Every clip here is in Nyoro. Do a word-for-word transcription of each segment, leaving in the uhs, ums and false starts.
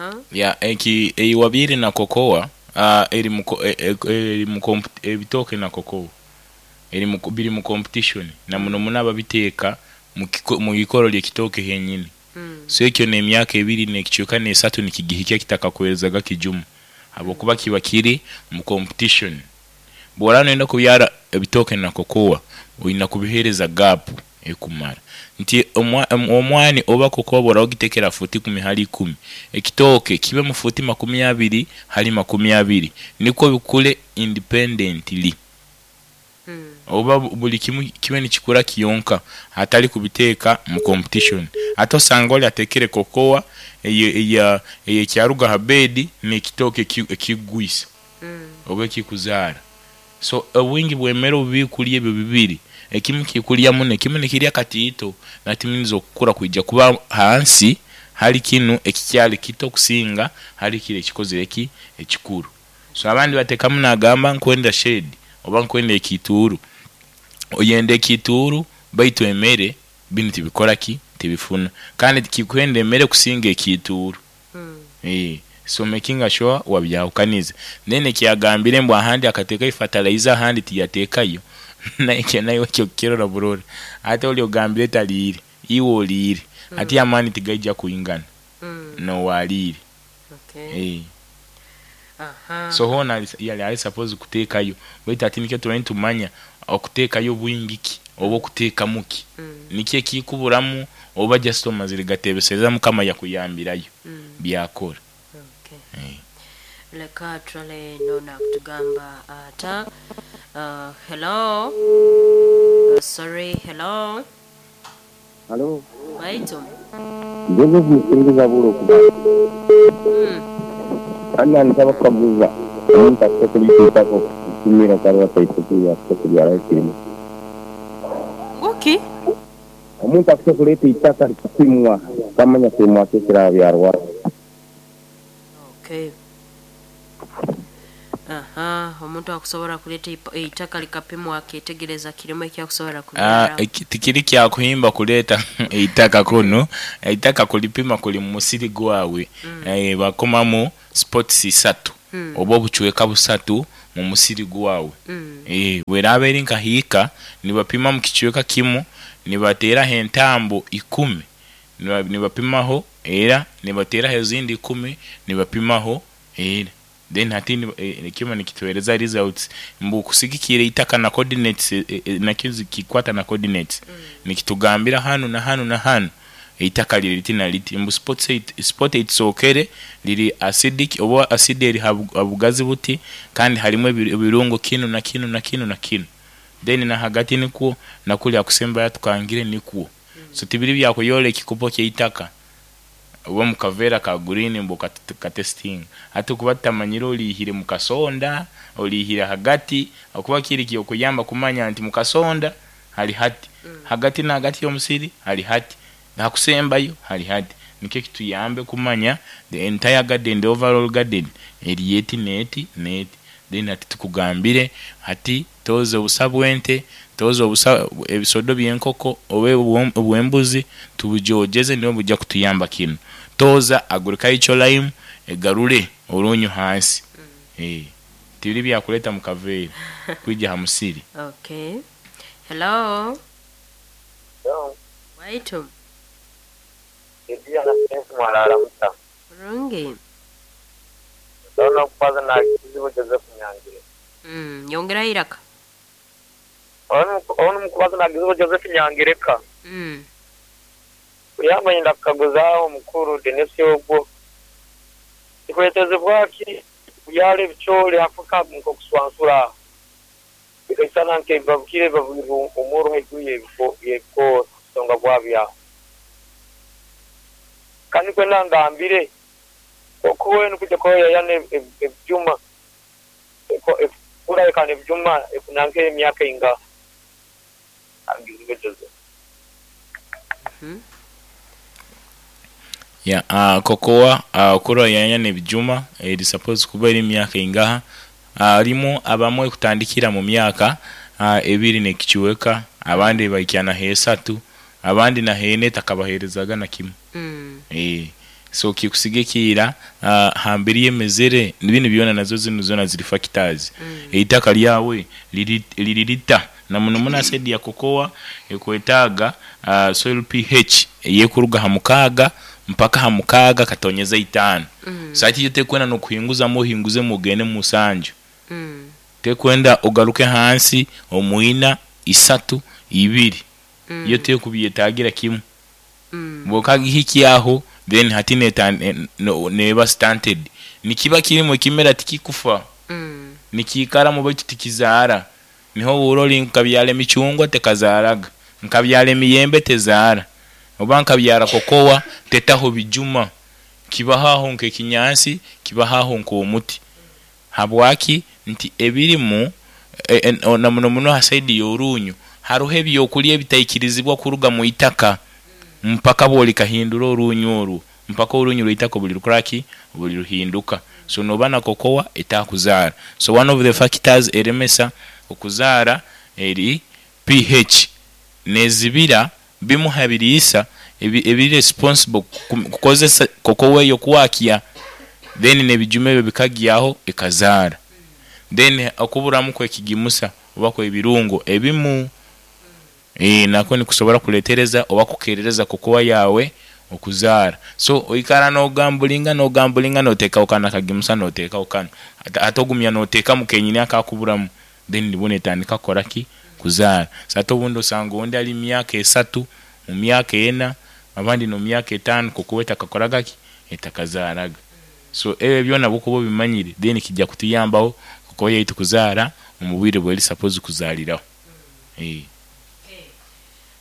Aha. Ya eki eiwabyire na cocoa uh, eri mu ko- e- e- eri mu comp- ebitooke na cocoa eri mu biri mu competition na muno muno ababiteeka mu kiko- mu ikoro ly'ekitooke henyini. Mm. So ekyo n'emyaka ebiri n'ekicweka n'esatu nikigihikya kitakakwerezaga kijuma, habwokuba kiba kiri mu competition. Bw'oraba noyenda kubyara ebitooke na cocoa, oyina kubiheereza gap ekumara nti omwa- om- omwani oba cocoa bw'oraba ogitekera futi ikumi hali ikumi, ekitooke kibe mu futi makumi abiri hali makumi abiri, nikwo bikule independently. Mm. Oba bu- buli kimu kibe nikikura kiyonka, hatali kubiteeka mu competition. Ate osanga oli atekere cocoa eya eyekyaruga ha bedi n'ekitooke eki- ekigwisa Mm. oba ekikuzaara. So obwingi bw'emmere obu bikulya ebyo bibiri, ekimu kikulya muno, ekimu nikirya katiito, natiminiza okukura kwija kuba hansi hali kinu ekikyali kito kusinga hali kiri ekikozere eki ekikuru. So abandi batekamu nagamba nkwenda shade oba nkwenda ekituuru. Oyenda ekituuru, baitu emere binu tibikora ki, tibifuna, kandi kikwenda emere kusinga ekituuru. Mm. Eh, so making sure wabyahukaniza. Then ekyagambire mbu ahandi akateekayo fertilizer, ahandi tiyateekayo, naye naye ekyo kirora burora. Ate oli ogambire taliire, iwe oliire, ate amaani tigaija kwingana Mm. nowaliire. Okay. Eh. Aha. So hona ali- yali ali suppose kuteekayo, baitu ati nikyo tuba nitumanya okuteekayo bwingi ki oba okuteekamu ki, Mm. nikyo ekikuburamu, oba just omazire gatebesereza Mukama yakuyambirayo Mm. byakora. Okay. Eh. Leka turale nona kutugamba ata. uh, hello uh, sorry, hello. Halo, Baitu. Joseph Musingiza Bulo kuba. mm. Anna nsaba kukaguza omuntu afite kulituukako kutumira kaliwa taitukuya afite kubyala ekirimu. Nguki. Omuntu afite kuleeta eitaka likapimwa kamanya kirimwa ki ekirabyarwa. Okay. Aha, omuntu akusobola kuleeta ipa- eitaka likapimwa aketegereza kirimu ekyakusobola Ah, kubyara. eki- tikiri kyakuhimba kuleeta eitaka kuno, eitaka kulipima kuli mu musiri gwawe. Mm. Eh, bakomamu spots isatu Mm. oba obucweka busatu mu musiri gwawe. Mm. Eh, bweraaba eri nka hiika, nibapima mu kicweka kimu, nibateeraho entambo ikumi, niba- nibapimaho, era nibateeraho ezindi ikumi, nibapimaho era. Then hati ni- eh, ekyoma nikituhereza results mbu kusigikira eitaka na coordinates, eh, eh, nakyo zikikwata na coordinates, nikitugambira hanu na hanu na hanu eitaka liri liti na liti, mbu spot eight- spot eitusokere liri acidic oba acid eri ha bu- ha bugazi buti, kandi harimu ebi- ebirungo kinu na kinu na kinu na kinu. Then na hagati nikwo, nakuli akusemba yatukangire nikwo. So tibiri byakuyola ekikopo kyeitaka oba mukaveera ka green mbu kat- katesting, ate kuba tutamanyire olihire mukasonda, olihire hagati, okuba kiri kyokuyamba kumanya nti mukasonda hali hati, hagati na hagati y'omusiri hali hati, nakusembayo hali hati, nikyo kituyambe kumanya the entire garden, the overall garden eri eti neti neti. Then ati tukugambire hati toza obusa bw'ente, toza obusa ebisodo by'enkoko oba obw'em- obw'embuzi, tubujojeze, nibo bujja kutuyamba kinu. Toza agricultural lime egarure orunyu hansi. Eh, tibiri byakuleta mu kaveera kwijja ha musiri. Okay, hello. Waitu. Mwalala muta? Bulungi. Ndabona kubaza na kizibu Joseph Nyangire. Mm, yongera iraka. Ono mukubaza na kizibu Joseph Nyangireka. Mm. Kuyamba nyenda kukaguza omukuru Denis ogwo. Kikwetezebwa ki kubyala ebicoori hafuka nk'okuswansura, bikaisana nk'ebibabukire bibabwirwe omuro haiguru y'ebiko y'ebikoora kusonga bwabyaho. Kandi kwenda ngambire okuwe nukujya koyayana ebyuma kurayekana ebyuma ekunanka emyaka inga angizibe Joseph. Mhm. Ya, uh, cocoa uh, kurwa yanya n'ebijuma eri suppose kuba eri emyaka ingaha? Harimu abamwe kutandikira mu myaka uh, ebiri n'ekichweka, abandi bahikya na esatu, abandi na hene takabaherezaga na kimu. Mm. Eh, So kikusigikira uh, hambiri emezere binu byona nazo zinu zona ziri factors. Eitaka lyawe liri lirita na muno muno acid ya kokoa ekwetaaga uh, soil P H eyekuruga ha mukaaga mpaka ha mukaaga katonyeza itaano. Mm. Sati yo tekwenda nokuhinguzamu ohinguze mugende musanju, Mm. tekwenda ogaruke hansi omwina isatu ibiri. Mm. Yo tekubyetagira kimu. Mm. Bwokagihikyaho then hati neta ne- no- neba stunted, nikiba kirimu ekimera tikikufa, Mm. nikiikaramu baitu tikizaara. Niho uroli nkabyala emicungwa tekazaaraga, nkabyala emiyembe tezaara, oba nkabyara kokowa tetaho bijuma, kibahaho nk'ekinyansi, kibahaho nk'omuti. Habwaki? Nti ebirimu e, e, na muno muno ha side y'orunyu haruho ebyokulya ebitaikirizibwa kuruga mu itaka mpaka bwolikahindura orunyu orwo, mpaka orunyu rw'itaka buli lukoraki, buli ruhinduka. So noba na kokowa etakuzaara. So one of the factors eremesa okuzaara eri P H, nezibira bimu ha biriisa ebi- ebiri responsible ku- kukozesa kokowa eyo kwakya, then nebijuma ebyo bikagyaho ekazaara. Then okuburamu kwekigimusa oba kwebirungo ebimu e, nako nikusobora kuletereza oba kukerereza kokowa yawe okuzaara. So oikara nogambulinga nogambulinga, noteekaho kano akagimusa, noteekaho kano, ate ate ogumya noteekamu kenyini akakuburamu, then nibwo netandika kukoraki, kuzaara. So ate obundi osanga ondi ali myaka esatu, mu myaka ena, abandi no myaka etaano, kokowa etakakoragaki, etakazaaraga. So ebyo byona bwokuba obimanyire, then kijja kutuyambaho kokowa yaitu kuzaara omu bwire bweri suppose kuzaaliraho Eh.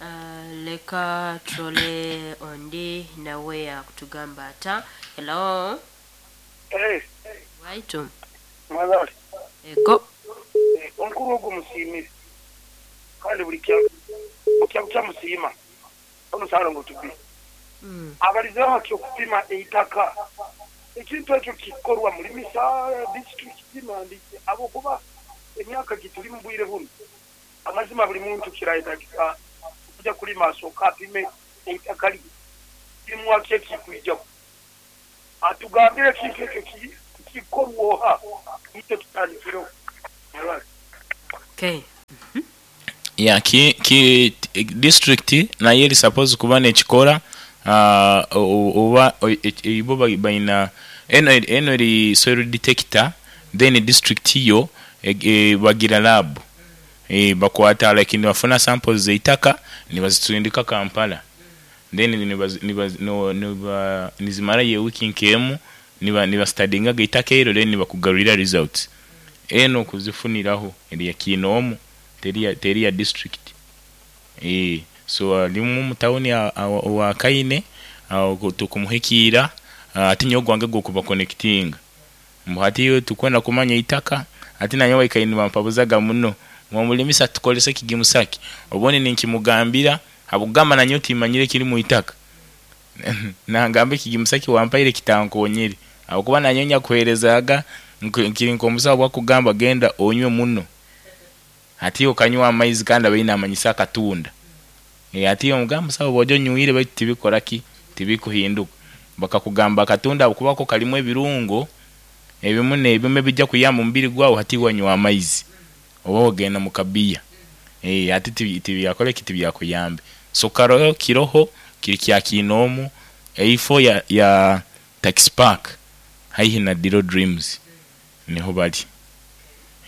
Uh, leka turole ondi nawe akutugamba ata. Hello? Eh, waitu. Mwebale. Ego. Eh, omukuru ogwo musiimire kandi buli kya- kya kyamusiima omusaala tubi. Mm. Abalizeho haki okupima eitaka, ekintu ekyo kikorwa mulimisa disitulikiti nandiki, abokuba emyaka gituli mu bwire buno, amazima buli muntu kirayetagisa okuja kulima asooka apime eitaka lye kimwaki ekikwijaku, atugambire ekintu ekyo ki- kikorwa oha, ite tutandikireho. Mwebale. Okay. Ya, ki, ki district nayo eri suppose kuba nekikora, uh, oba ibo baina eno eno eri soil detector. Then district yo e, e, bagira lab, e, bakwata like nibafuna samples zeitaka nibazitundika Kampala, then nibaz- nibaz- no- niba nizimara ye wiki nkemu niba nibastudyingaga itaka eryo, then nibakugarurira results. Eno kuzifuniraho eri ya kinoomu, teri ya, teri ya district. eh so alimu mu tawuni wa Kaine awo tukumuhikiira, ati nyowe gwange gokuba connecting mbu hati iwe tukwenda kumanya itaka. Ati nanyowe Kaine bampabuzaga muno, mwamulimisa tukolese kigimusaki, obundi ninkimugambira habugamba nanyowe timanyire kiri mu itaka, nangamba ekigimusaki wampaire kitankonyere, habwokuba nanyowe nyakuherezaga nkiri nk'omusawo bwakugamba genda onywe muno, ati okanywa amaizi kandi abaine amanyisa akatunda. E, ati omugamba musawo bw'ojya onywire baitu tibikora ki, tibikuhinduka. Bakakugamba akatunda habwokuba ko kalimu ebirungo ebimu n'ebimu ebijja kuyamba omubiri gwawe, hati wanywa amaizi oba ogenda mu kabiya, e, ati tibi- tibyakora ki, tibyakuyambe. So karoho kiroho kiri kya kinoomu eifo ya, ya taxi park haihi na Diro Dreams niho bali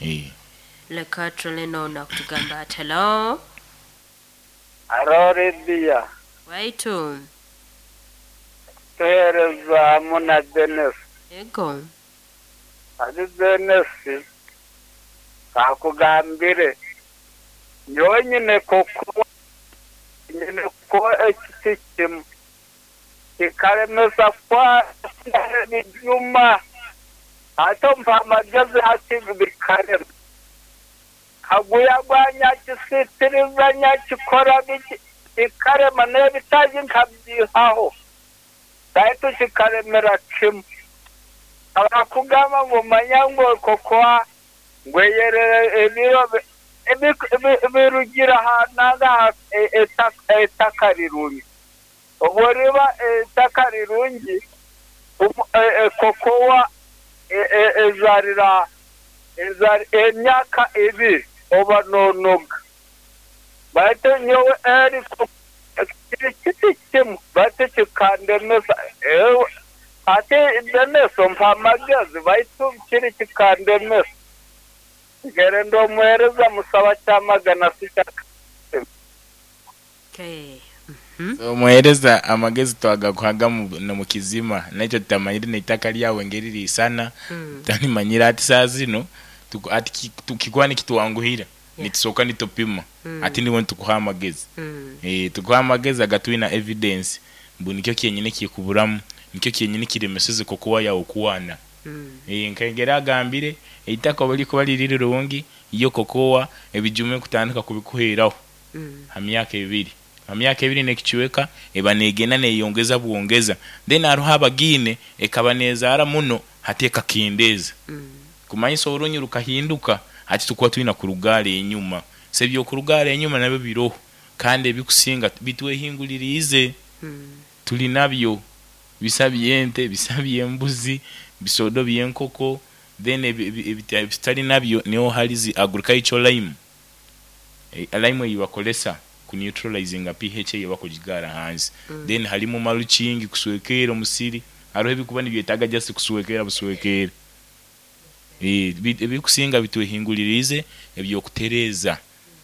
e. Leka turole nono akutugamba ati. Hello? Aro Lidiya, Waitu. Tuheereza hamu na Dennis. Ego. Ati Dennis, kakugambire, nyowe nyine kukuwa, nyine kukuwa ekiti kimu, kikalemesa kwa ebijuma, ate mpa amagezi hati bikarema. Kaguya gwanyakisitiriza nyakikora biki, kikarema n'ebitaagi nkabyihaho, baitu kikaremera kimu. Abakugamba ngu manya ngu kokoa ngweyerere ebiro bi- ebi- ebi- birugira hananga ettaka rirungi, obwo riba ettaka rirungi. Kokowa ezarira ezari emyaka ebiri oba nonoga. Baitu nyowe eri kiti kimu baitu kikandemesa ate demeso mpa amagezi baitu kiri kikandemesa. Gere ndomuhereza musaba kyamagana sikyaka. Okay. So muhereza amagezi twagakuhaga mu mukizima nakyo tutamanyire n'eitaka lyawe ngeri lisana Mm. tanimanyira ati saa zino tuku- ati tukikuwa nikitwanguhira Yeah. nitusoka nitupima Mm. ati niwe nitukuha amagezi Mm. eh tukuha amagezi agatwina evidence mbu nikyo kyenyine kikuburamu nikyo kyenyine kiremeseze kokuwa yawe kuwana Mm. eh nkengera agambire eitaka bali kuba liri rirungi iyo kokowa ebijume kutandika kubikuheraho Mm. ha myaka ebiri ha myaka ebiri nekichweka eba negenda neyongeza bwongeza then aruho abagine ekaba nezaara muno hati ekakendeza Mm. kumanyisa orunyu rukahinduka hati tukuba twina kurugara enyuma se ebyokurugara enyuma nabyo biroho kandi ebikusinga bitwehingulirize Mm. tuli nabyo bisa byente bisa byembuzi bisodo byenkoko then ebi- ebi- ebi- ebitali nabyo niho hali zi agricultural lime e, lime eyibakolesa ku neutralizinga pH eyebakugigara hansi Mm. then halimu mulching kuswekera omusiri hariho ebikuba nibyetaaga just kuswekera buswekera Eh, bi- ebikusinga bitwehingulirize ebyokutereza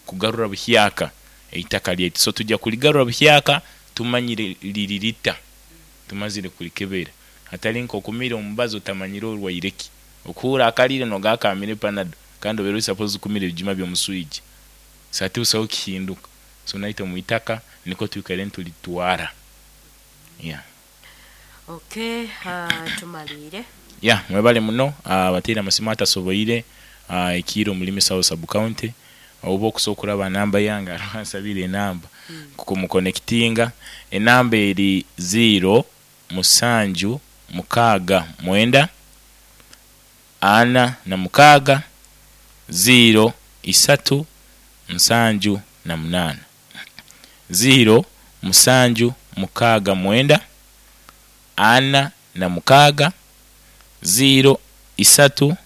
kugarura buhyaka eitaka lyaitu so tujja kuligarura buhyaka tumanyire liririta tumazire kulikebera hatali nkokumira omubazi otamanyire orwaireki okuhura akalire nogakamire panado kandi obeera suppose kumira ebijuma by'omuswiji so ati busaho kihinduka so naitwe muitaka niko twikare ntulitwara yeah. Okay, uh, tumalire. ya mwebale muno abateera amasimu atasoboire ah, ekiiro mulimi south sub county oba okusobola okulaba namba yange alwansabire enamba kukumukonekitinga enamba eri zero musanju mukaaga mwenda ana na mukaaga zero isatu nsanju na munaana zero musanju mukaaga mwenda ana na mukaaga zero isatu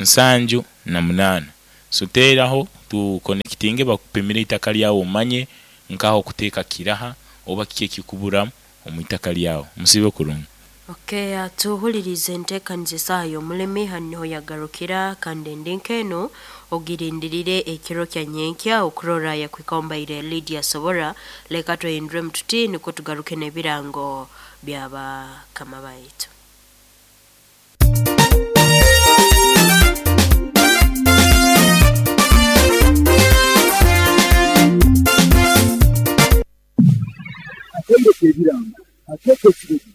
nsanju na munaana so teeraho tukonekitinge bakupimire itaka lyawe omanye nkaho okuteeka kiraha oba kiki ekikuburamu omu itaka lyawe musibe kurungi. Okay, uh, tuhulirize enteekaniza esaaha y'omulimi hanu niho yagarukira kandi endi nk'eno ogirindirire ekiro kya nyenkya okurora yakwikombaire Lydia Sobora. Leka twehindure mututi niko tugaruke n'ebirango byabakama baitu. Akendeka ebirango ateeka ekirego